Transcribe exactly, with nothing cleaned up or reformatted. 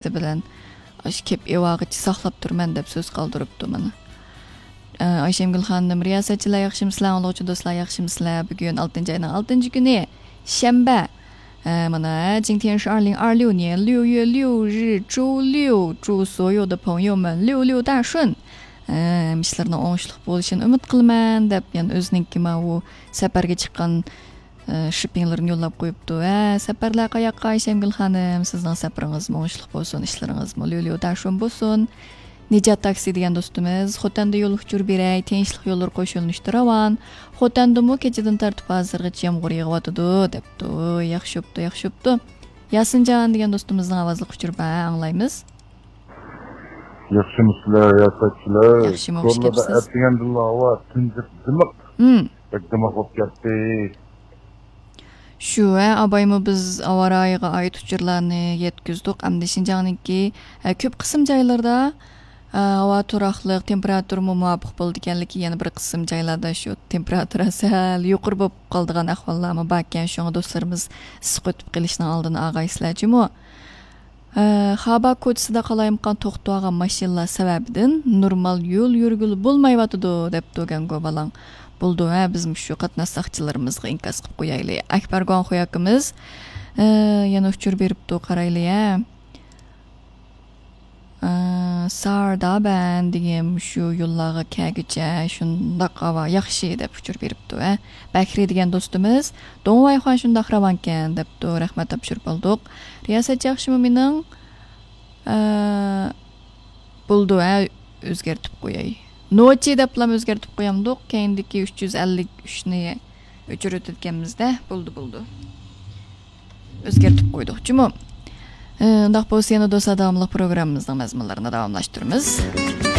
بىلەن ئاشۇ كېپ ئېۋاغىچە ساقلاپ تۇرىمەن دەپ سۆز قالدۇرۇپتۇ مانا. ئە، ئايشەمگۈل خانىم، رىياسەتچىلەر ياخشىمۇسىلەر، ئاڭلىغۇچى دوستلار ياخشىمۇسىلەر؟ بۈگۈن ئالتىنچى ئاينىڭ ئالتىنچى كۈنى، شەنبە. ئە، مانا، 今天是二零二六年六月六日，周六，祝所有的朋友们六六大顺. ئە، ئىشلىرىنىڭ ئوڭۇشلۇق بولۇشىنى ئۈمىد قىلىمەن دەپ، يەنە ئۆزىنىڭكى ماۋۇ سەپەرگە چىققان ئە، شىپپىڭلىرىنى يوللاپ قويۇپتۇ. ھە، سەپەرلەر قاياققا، ئايشەمگۈل خانىم؟ سىزنىڭ سەپىرىڭىزمۇ ئوڭۇشلۇق بولسۇن، ئىشلىرىڭىزمۇ ليۇليۇ داشۇن بولسۇن. نىجات تاكسى دېگەن دوستىمىز، خوتەندە يول ئۇچۇر بېرەي، تىنچلىق يوللىرى قوشۇلۇشتا راۋان. خوتەندىمۇ كېچىدىن تارتىپ ھازىرغىچە يامغۇر يېغىۋاتىدۇ، دەپتۇ. ياخشى بوپتۇ، ياخشى بوپتۇ. ياسىنجان دېگەن دوستىمىزنىڭ ئاۋازلىق ئۇچۇرى بار، ئاڭلايمىز. ياخشىمۇسىلەر، رىياسەتچىلەر؟ ياخشىمۇ، خۇش كەپسىز. ئەتىگەندىلا ھاۋا تۇنجۇق دىمىق. ھىم. بەك دىمىق بولۇپ كەتتى. شۇ، ھە، ئابايمۇ بىز ھاۋا رايىغا ئائىت ئۇچۇرلارنى يەتكۈزدۇق. ئەمدى شىنجاڭنىڭكى، ھە، كۆپ قىسىم جايلىرىدا، ھە، ھاۋا تۇراقلىق، تېمپېراتۇرىمۇ مۇۋاپىق بولىدىكەنلىكى، يەنە بىر قىسىم جايلاردا شۇ تېمپېراتۇرا سەل يۇقىرى بولۇپ قالىدىغان ئەھۋاللارمۇ باركەن. شۇڭا دوستلىرىمىز ئىسسىق ئۆتۈپ قېلىشنىڭ ئالدىنى ئالغايسىلەر جۇمۇ. ئە، خابا كوچىسىدا قالايمىقان توختاۋالغان ماشىنىلار سەۋەبىدىن نورمال يول يۈرگىلى بولمايۋاتىدۇ، دەپتۇ گەنگو بالاڭ. بولىدۇ، ھە، بىز مۇشۇ قاتناش ساقچىلىرىمىزغا ئىنكاس قىلىپ قويايلى. ئەكبەر گۇاڭخۇي ئاكىمىز، ئە، يەنە ئۇچۇر بېرىپتۇ، قارايلى، ھە. ئە، ساردابەن دېگەن مۇشۇ يوللارغا كەلگۈچە شۇنداق ھاۋا ياخشى دەپ ئۇچۇر بېرىپتۇ، ھە. بەكرى دېگەن دوستىمىز، دوڭۋايخۇەن شۇنداق راۋانكەن، دەپتۇ. رەھمەت، تاپشۇرۇپ بولدۇق. رىياسەتچى ياخشىمۇ مېنىڭ؟ ئە، بولىدۇ، ھە، ئۆزگەرتىپ قوياي. نوچى دەپلام ئۆزگەرتىپ قويامدۇق، كەينىدىكى ئۈچ يۈز ئەللىك ئۈچنى ئۆچۈرۈۋېتىدىكەنمىز-دە، بولدى، بولدى. ئۆزگەرتىپ قويدۇق جۇمۇ. ئە، ئۇنداق بولسا يەنە دوستلار داۋاملىق پروگراممىمىزنىڭ مەزمۇنلىرىنى داۋاملاشتۇرىمىز.